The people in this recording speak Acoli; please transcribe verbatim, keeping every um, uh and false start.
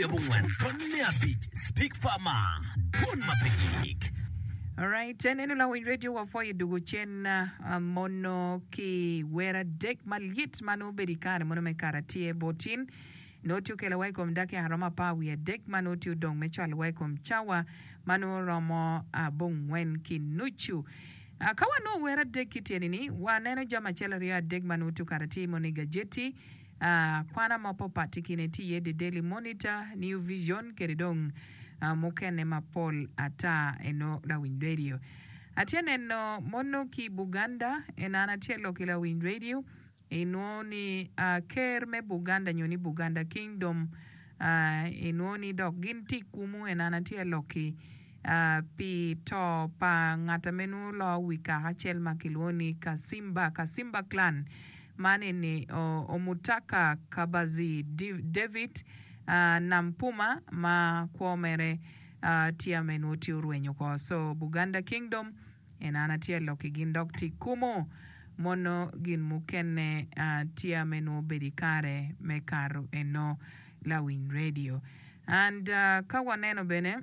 Abongwen tony me abic Speak Farmer Dwon ma pe gik. Alright, en eno lawiny radio wapwoyo dugo cen uh, mono ki wer adek malyet ma nongo obedo i kare mono me kare atye botin nongo tye okelo wa i kom dakika romo apar wiye adek ma nongo tye odong me cwalo wa i kom cawa ma nongo romo abongwen ki nucu. Uh, ka wanongo wer adek ki tyeni ni waneno jami acel aryo adek ma nongo tye okato atir mono i gajeti uh, kwana ma papat i kine tye iye The Daily Monitor, New Vision kede dong uh, mukene mapol ata eno lawiny radio. Atye neno mono ki Buganda en an atye lok ki lawiny radio inwongo ni uh, ker me Buganda nyo ni Buganda Kingdom uh, inwongo ni dok gin tye kumu en an atye lok ki uh, pi to pa ngat ame nongo loo wi kaka acel ma kilwongo ni Kasimba, Kasimba clan man eni Omutaka Kabazi David uh, Nampuma ma kwo mere uh, tye ame nongo tye orwenyo oko. So Buganda Kingdom en an atye lok ki gin dok tye kumu mono gin mukene uh, tye ame nongo obedo i kare me kato eno lawiny radio. And uh, ka waneno bene